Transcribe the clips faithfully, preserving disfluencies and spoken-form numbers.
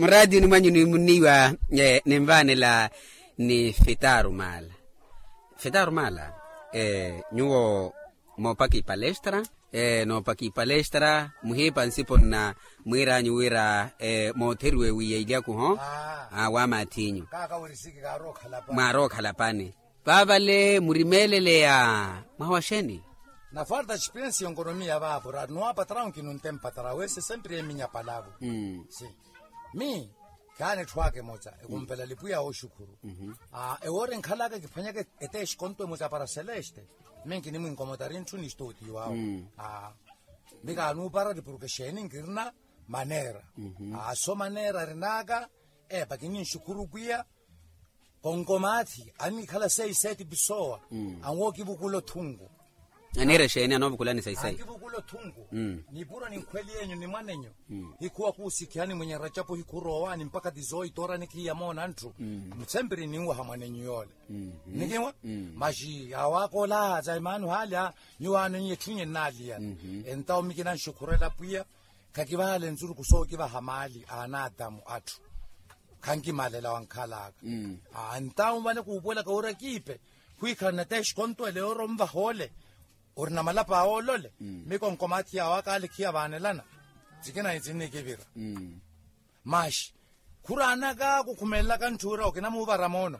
Muraatiyuni mwanyu nimunniiwa, ninvaanela ni fitaru maala. Fitaru maala, nyuwo moopaka ipalestra, noopaka ipalestra muhiipa nsipo nna mwiiranyu wira mootheriwe wiiya ilyakuho. Wa maathiinyu. Mwaarookhala pani. Vaavale murimeeleleya mwaha wa xeeni? Nafarta xipensi ya onkonomiya vaavo ra nuwa patrawu nkinunte mpatrawu ese sempiri eminya palavo. Si mi khaani etthu aka emoca ekumphela lipuya wooxukhuru. Ewoori nkhalaka kiphwanyaka eteexikonto emoca para celeste. Mi nkinimwinkomotari ntthu ni stuti wawo. Mi kaanuuparari porke xeeni nkirina maneera. Aso maneera arinaka. Epa kininxukhuru pwiya. Konkomaathi annikhala seiseti pisoowa. Anwookivukula othunku. Aniira exeeni anoovukulani saisayi? Ankivukula othunku. Nipuro ninkhweli yenyu ni mwanenyu. Hikhuwa khuusikhihani mwenye racapu hikhuroowani mpakha tizoito orani khiiya moona ntthu. Sempiri ninwaha mwanenyu yoole. Nikinwa maxi awakola za imaanu haalya. Nyuwaano nyi etthu nye nnaaliya. Entawo mi kinanxukhurela pwiya. Khakivahala enzuruku sookivaha maali a anaadamu atthu. Khankimalela wankhalaka. Entawo vale kuupuwelaka owira kiipe. Khwiikhala nateexikonto ele yooro onvaha ole. Orina malapa awe olole. Mi konkomaathi yawe akaalikhiya vaanelana. Sikina itsinnikivira. Maxi khuraanaka kukhumelelaka ntthu ira okinamuuvara moono.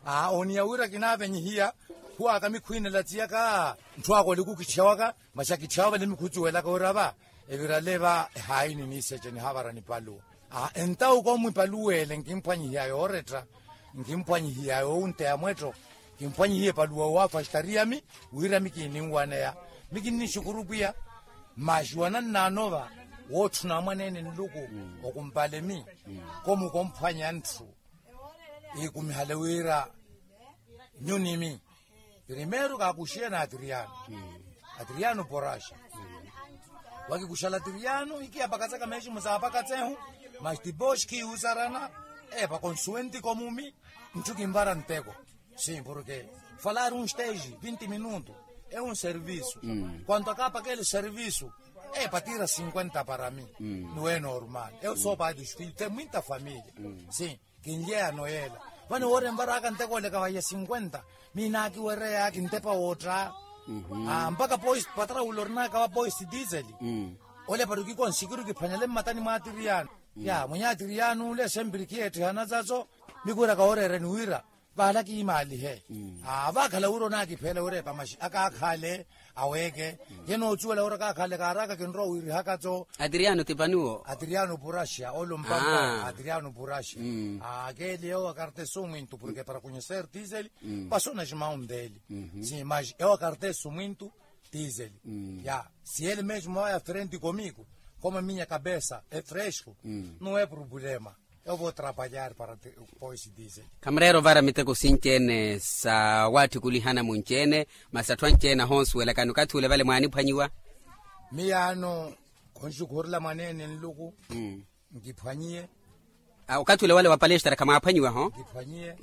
Aa oniya wira kinaavenyihiya. Khuwaaka mikhwiinela tsiyaka ntthu aka olikukitthyawaka. Maxi akitthyawaka vale mikhutsuwelaka wira va evirale va ehaayini niiseche nihavara nipaluwa. Aa entawo koomwipaluwele nkimphwanyihiya yooretta. Nkimphwanyihiya yoowunteya mwetto. Kimphwanyihiye paluwa waafastariya mi wira mi kiininwaneya. Mi kinninxukuru pwiya. Maxi wanannaanova wootthuna mwaneene nluku. Okumpale mi komukomphwanya ntthu. Ikumihale wira nyunimi. Primeiro kaakuxiye na atriano. Atriano poraxa. Wakikuxala atriano ikiyapakatsaka meximu saapakatsehu. Mas tipoxi khiyuusarana. Epa konsuwenti komumi. Ntthu kinvara nteko. Sim porke falaari un stage vinti minutu. E un servisu. Kuanto akaapakele servisu. Epa tiira cinkuenta para mi. Nuwe normal eu soopaati xutite mwinta familia. Sim. Kinlyeyano yeela. Vano woori envaraka nteko oleka vaya cinkuenta. Miinaakiwereya kintepa wootta. Mpaka poist patraula orinaka va poist disel. Ole para okikonsikiru kiphwanyale mmatani mwa atiriyano. Ya mwenye atiriyano ole sempiri khiyeetthihana zaso. Mikwiraka wooreereni wira vaala kiimaalihe. Vaakhala wira onaakipheela wira epamaxi akaakhaale. Aweeke. Ye nootsuwela wira akaakhaale kaaraka kinrowa wiirihaka tso. Atiriyano tipaniwo. Atiriyano puraxia ole ompampa atiriyano puraxia. Akeeli ewo akartesu mwintu porke para konyeser tiseli. Pasona ximawu nteeli. Si maxi ewo akartesu mwintu. Tiseli. Ya si ele mesmo aya frenti komiku. Koma minya kabesa efresku. Nuwe problema. Evo trapalyari para poisi disel. Khamureera ovara miteko sinci-ene sa waattikulihana munci-ene. Masi atthu anci-ene ahonsuwelakani okathi ule vale mwaaniphwanyiwa. Miyaano khonxukhurela mwaneene nluku. Nkiphwanyiye. Okathi ule wale wa palestra khamwaaphwanyiwa ho. Nkiphwanyiye.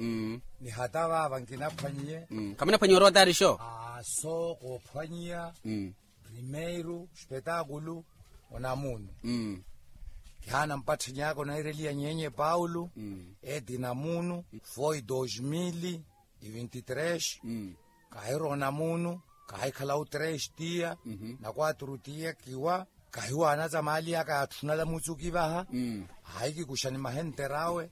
Ni hata vaava nkinaphwanyiye. Khamunaphwanyiwa orotari xo. Aso koophwanyiya. Primeiro spetakulu. Onamuunu. Kihaana mpatthanyaka onaireliya nyenye paulo. Eti namuunu foi dos mil e vinte e tres. Kahirwa onamuunu. Kahikhala utres tiya. Na kwatru tiya kiwa. Kahiwaana za maali yaka yaatthunala mutsuki vaha. Ahikikuxani mahenter'awe.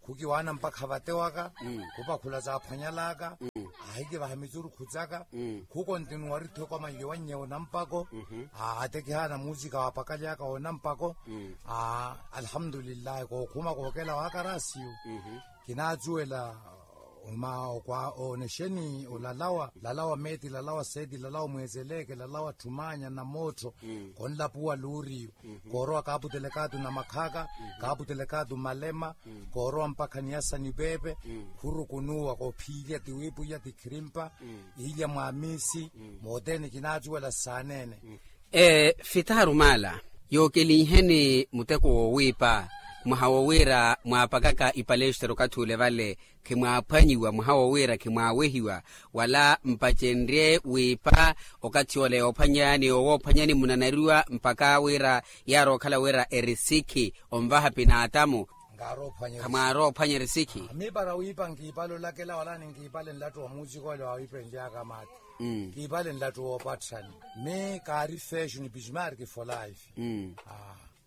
Khukiwaana mpakha vate waka. Khupakhula zaaphwanyalaka. Ahikivaha mitsurukhu tsaka. Khukontinuwari tthoko amanlyo wannye onampako. Ate kihaana muusika waapakalyaka onampako. Alhamdulillahi kookhuma kookela waakarasiyu. Kinaatsuwela. Oma okwa onexeni olalawa lalawa meeti lalawa seeti lalawa mweezeleke lalawa tthumanya na moottho. Konlapuwa luuriyu. Koorowa kaaputelekatu na makhaaka. Kaaputelekatu malema. Koorowa mpakha niyasa nipeepe. Khurukunuwa koophiilya tiwiipwiya tikhirimpa. Iilya mwaamiisi. Moothene kinaacuwela saaneene. Fitaru maala yookelinheni muteko woowiipa. Mwaha wowiira mwaapakaka ipalestra okathi ule vale khimwaaphwanyiwa mwaha wowiira khimwaawehiwa. Wala mpacenrye wiipa okathi ole yoophwanyani yowoophwanyani munanariwa mpaka wira yaari okhala wira erisikhi onvaha pinaatamu. Khamwaari ophwanya erisikhi. Mi para wiipa nkiipale olakela wala ninkiipale nlattu wa muusikole wawiipenlyaka maati. Nkiipale nlattu woopatthani. Mi kaari feshi ni pismari kifola ifi.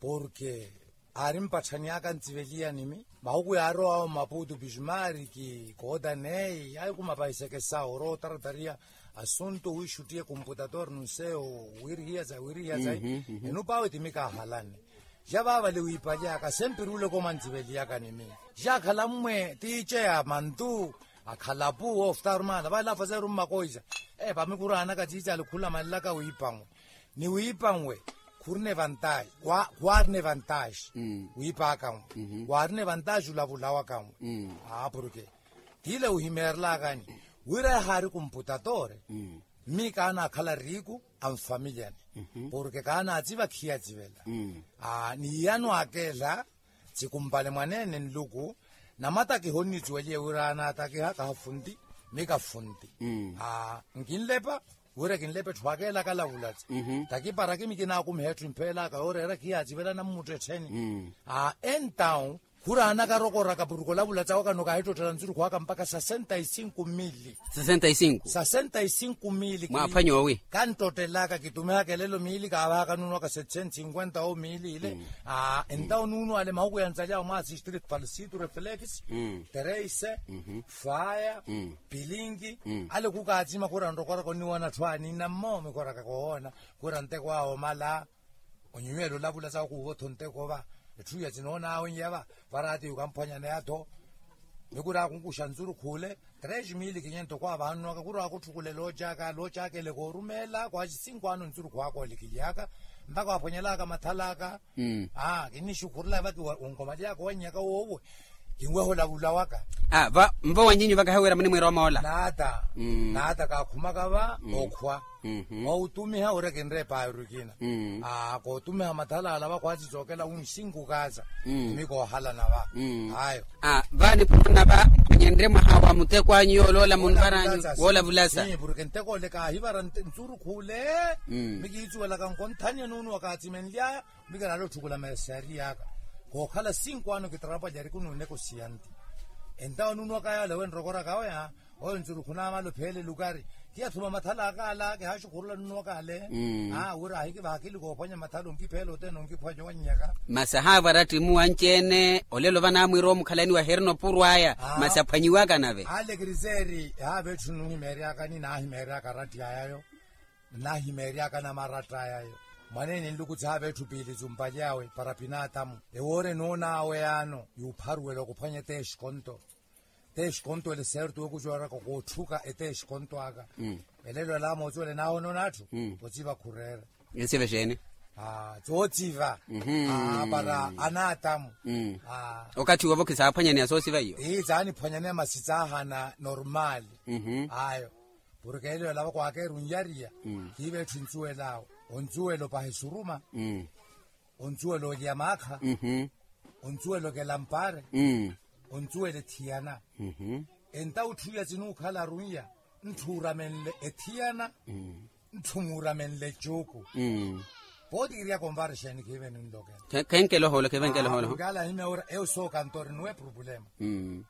Porke aari mpatthani aka ntsiveliyani mi mahuku yaarowa awo mmaputu pismari ki kootaneyi ayi kumapahiseke sawo orowa otaratariya asuntu wiixuttiye kumputatori nunseyo. Wiirihiya sayi wiirihiya sayi. Enu pawe ti mi kaahalanne. Ja vaavale wiipalyaka sempiri ule komantsiveliyaka ni mi. Jaakhala mmwe tiice ya mantu akhalapu oftarmana vale afaseru mmakoisa. Epa mi kuraanaka tiice alikhulamalelaka wiipanwe ni wiipanwe. Khurina evantaji. Khwaarina evantaji wiipakanwe. Khwaarina evantaji ulavulawakanwe. Aa porke tiile wihimeerelakani wira yahaari kumputatori. Mmi kaanaakhala riiku anfamilyani porke kaanaatsiva khiyatsivela. Ni iyano akeela tsikumpale mwaneene nluku. Namatakiha onnitsuweliye wira anaatakiha kahafunti. Mmi kafunti. Nkinlepa wira kinlepa etthu akeela kalavulatsa takiparakimi kinaakumiha etthu empheelaka yooreera khiyatsivela nammuttettheni. Entawu khuraanaka rokoraka porke olavulatsa waka nokahittottela nsurukhu aka mpakha sasenta y cinco mili. Sasenta y cinco mili. Mwaaphwanya owi kanttottelaka kitumihaka elelo miili kaavahaka nuuno waka setseni cinkwenta owo miili ile. Entawo nuuno ale mahuku yantsali awo mwaasistrict falsitu reflex, tereise, faya, pilinki. Ale khukaatsima khura nrokoraka onniwona atthu aninna mmo mikoraka kowoona khura nteko awo mala. Onyuwela olavula sawo kuuva otho nteko va etthu iya tinoonaawe nyeya va. Varati yukamphwanyaneya-tho. Mikura akunkuxa nsurukhu ole tres mili kinyento kwaavahanunwaka kura akutthukulela oocaka loocakeleka orumeela kwaxi cinco ano nsurukhu aka olikilyaka mpakha waphwanyelaka mathalaka. Kinnixukhurela vati wonkomalyaka owannyaka woowe. Kinweha olavula waka. Mva wanyinyu vakahiwira munimwiira omoola. Naata. Naata kaakhumaka va okhwa. Wautumiha wira kinreepa erukina. Kootumiha mathala ala vakhwaasi sookela wunxinkukaasa. Mmi koohalana va. Ayo. Va niphununa va mphwanyenrye mwaha wa muteko anyu yooloola munvara anyu woolavulasa. Porke nteko ole kaahivara nsurukhu ole. Mmi kiitsuwelaka nkonthaniye nuuno wakaatsimenlyaya. Mmi kinaale otthukula mesari aka kookhala cinco ano kitrapwalyari kunuuneko siyanti. Entawo nuuno wakayale wenrokoraka oya. Oyo nsurukhu naamala opheela elukari. Kiyathuma mathala aka ala kihaxukhurula nuuno wakale. Wira ahikivaha akili koophwanya mathala onkipheela othene onkiphwanya owannyaka. Masi ahaavara ttimu anci-ene olelo vanaamwiira omukhalaniwa herina opurwaya. Masi aphwanyiwaka nave ale kiriseeri ehaava etthu nuhimeeryaka ninaahimeeryaka aratti ayayo. Nnahimeeryaka namaratta ayayo. Mwaneene nluku thaava etthu piili tsumpaly'awe para pinaatamu. Ewoora enoon'awe yaano yuupharuwela okuphwanya eteexikonto. Eteexikonto ele seerto wekucuwaraka kootthuka eteexikonto aka. Elelo ela moocuwela enaahonoona atthu. Ociva khureera. Ensiva exeeni? Tsoociva. Para anaatamu. Okathi woovo khisaaphwanyaneya soosiva iyo. Ii tsaaniphwanyaneya masi tsaahana normaali. Ayo. Porke elelo ela vakwakeera onyariya. Kiiva etthu ensuwel'awe. Onsuwela opaha esuruma. Onsuwela olya maakha. Onsuwela okela mpaare. Onsuwela ethiyana. Entawo etthu iya tsinukhala arunya. Ntthu uramenle ethiyana. Ntthu muuramenle ecuuku. Pooti kiryaka onvarexeni khiive ninlokela. Khenkela ohoolo khiive nkela ohoolo. Nkala himya wira eyo sookantori nuwe problema.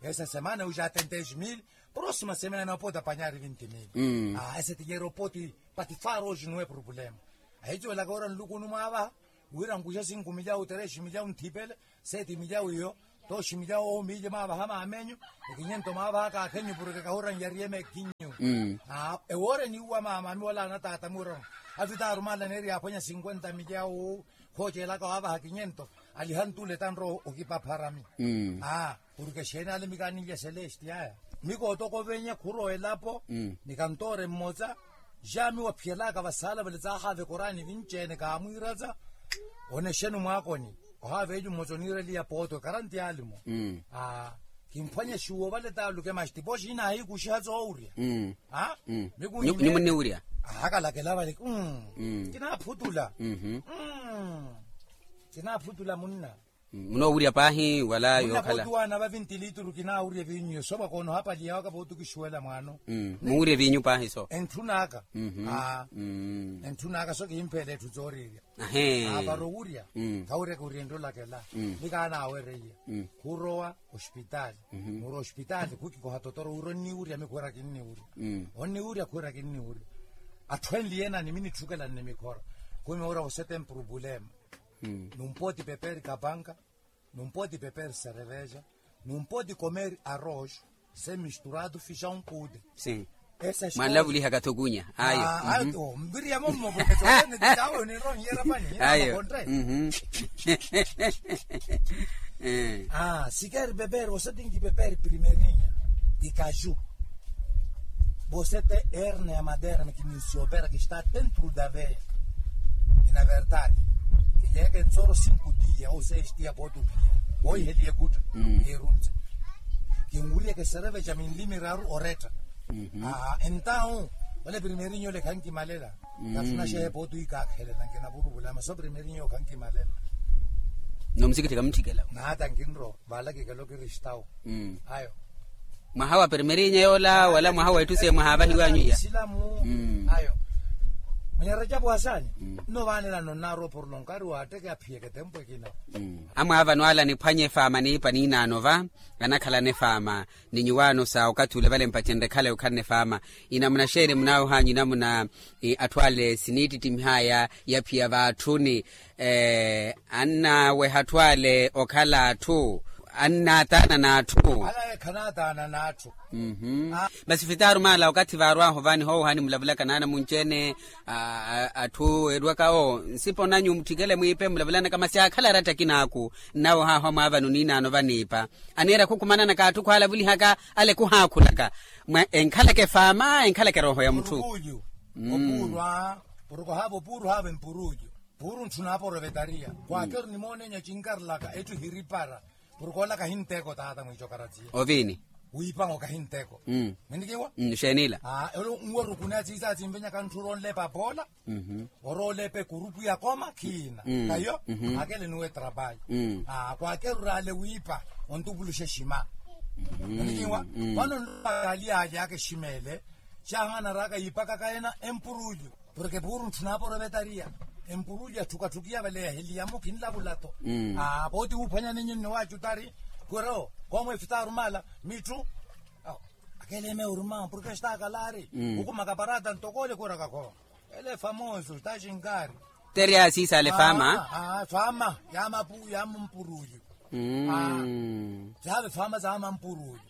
Esa semana ujatentexi mili. Prosima semana opooti apanyari vinti mili. Ese tinyera opooti patifaroxi nuwe problema. Ahicuwelaka wira nlukunu mwaavaha. Wira nkuxe cinco milyawu tres milyawu nthipele. Seti milyawu iyo. Toxi milyawu owo miilye maavaha maamenyu. Ekinyento maavaha kaakhenyu porke kahura nyariye mekinyu. Ewoora eniiwa maama ami wala anataata miwirano. Avita arumaala neeri yaaphwanya cinkwenta milyawu. Khoocelaka waavaha kinyento. Aliha ntule tanrowa okipapharami. Porke exeeni ale mi kaaninlya celesti aya. Mi kootoko venye khuro elapo. Ni kantoore mmosa. Jaami waphiyelaka vasaala vale tsaahaaveka oraani vinci-ene kaamwiiratsa. Onexeni mwaakoni. Ohaava elyu mmosa oniireliya pooto karanti alimo. Kimphwanye xuwo vale taaluke maxti poxi inaahikuxiha tsoowurya. Mikunyi munniwurya. Ahakalakela vale. Kinaaphutula. Kinaaphutula munna. Munoowurya paahi wala yookhala? Munakotuwana va vinti litru kinaawurya eviinyu yo sovaka onoohapaliya waka vootukixiwela mwaano. Muwurya eviinyu paahi so? Entthun'aka. Entthun'aka so kihimpheela etthu tsooriirya. Aaparo owurya. Khawiryaka oriento lakela. Nikaanaawereiya khurowa ospitaali. Murowa ospitaali khukikoha totoro wira onniwurya mikhuwera kinniwurya. Onniwurya khuwera kinniwurya. Atthu enliye nani minitthukela nnimikhora. Khumi wira wosete mpurupulema. Numpooti peperi kapanka. Numpooti peperi sereveja. Numpooti komeri arojo. Se misturatu fixa unkude. Mwanlavulihaka thukunya ayo. Mbiriyamo mmovo ketsokene titawe onironyera pani ayo. Sikeri peperi wosetinki peperi primerinya. Ikaju. Vosete erne ya maderme kininsiopera kista tentru daveya. Ina verdade. Kiyeeke ntsoro sinku tiya ou seis tiya potu piya. Oiheliye kutta. Kiruntse. Kinwuryeke sereve ca minlimiraru oretta. Entawu ole primerinyo ole khankimalela. Kafunaxehe potu ikakhelela nkinavuluvula maso primerinyo khankimalela. Nomusikithika mutthikela. Nata nkinro valakikelo kiristawu. Ayo. Mwaha wa primerinyo yoola wala mwaha wa etthu se mwaha avahiwanyu iya? Isilamu. Ayo. Mwenye rajabu hasani. Nno vaanelano nnaaro porlo nkari waatteke aphiyeke tempo ekina. Amwaavano ala niphwanye efaama niipa niinaano va. Anakhalana efaama ni nyuwaano sa okathi ule vale mpacenre ekhala yokhalana efaama. Inamuna xeeni munaawohanyu inamuna atthu ale siniittittimiha ya yaphiya vaatthuni. Annaweha atthu ale okhala atthu annaataana n'atthu. Alaye khanaataana n'atthu. Masi fitaru maala okathi vaarwaho vani hoohani mulavulaka naana munci-ene atthu erwaka o nsipo nanyu mutthikele mwiipe mulavulanaka masi aakhala aratta akinaaku. Nnawo haaho amwaavano niinaano vaniipa aneera khukumananaka atthu khwaalavulihaka ale khuhaakhulaka. Enkhalaka efaama enkhalaka erooho ya mutthu. Opuurwa poroko haava opuurwa haava empuruju. Puuru ntthu naaporovetaria kwaakeru nimoonenya cinkarlaka etthu hiripara. Poroko ola kahinteko taata mwiico karatsiya oviini. Wiipaho kahinteko. Minikiwa. Xeenila. Elo nwerukune atsiisa atsimvenyaka ntthu oronlepa apoola. Orolepe kurupu ya koma khiina kayo. Akele nuwe trabalho. Kwaakerurale wiipa ontupuluxe xima. Onikiwa. Vano nlupakali alyaka eximele. Cahanaraka yiipakaka ena empurulyu. Porke puuru ntthu naaporovetaria empurulyu atthukatthukiya vale yaheliyamo khinlavulato. Pooti wuuphwanya ninyu nniwacutari. Kwero koomwe efitaru maala mitthu. Akele meuruma porke xitaakalaari. Ukumaka parata ntokole kwero kakho. Ele famoso taxinkari. Tere asiisa ale faama. Faama ya mapu ya mampuruyu. Saave faama za mampuruyu.